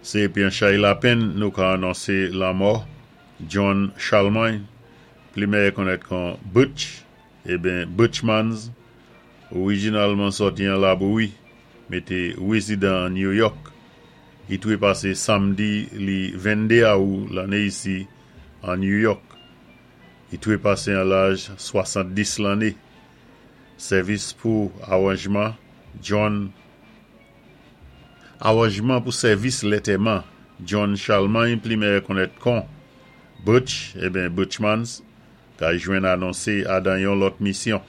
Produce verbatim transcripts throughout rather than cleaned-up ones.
Sé épi an chay lapenn nou ka anonsé lanmò John Charlemagne, pli mèyè konnèt kon Butch, eben Butchmans, orijinalman sòti an Labouyi, mé té wézidan an New York. I twépasé samdi li venndé awou lanné isi an New York. I twépasé an laj swasanndis lanné. Sèvis pou awanjman John Awanjman pou sèvis lantèman John Charlemagne, pli mèyè konnèt kon Butch, eben Butchmans, ka jwenn anonsé adan yon lòt misyon.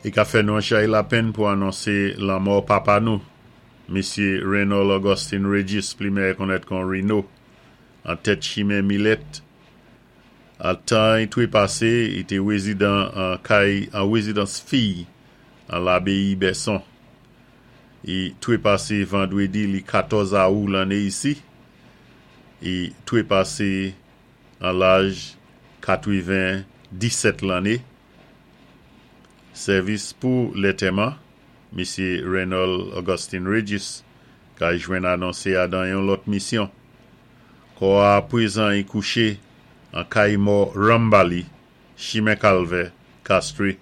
I ka fè nou an chay lapenn pou anonsé lanmò papa nou, Misyé Reynold Augustin Regis, pli mèyè konnèt kon Reno, an tèt chimen Millet. An tan i twépasé, i té wézidan an kay an wézidans fiy an Labeyi Bèson. I twépasé vandwédi li katòz awou lanné isi. I twépasé an laj katwenn-disèt lanné. Sèvis pou lantèman, Misyé Reynold Augustin Regis, ka jwenn anonsé adan yon lòt misyon. Kò a pwézan i kouché an kay mò Rambali, chimen Kalvè, Castries.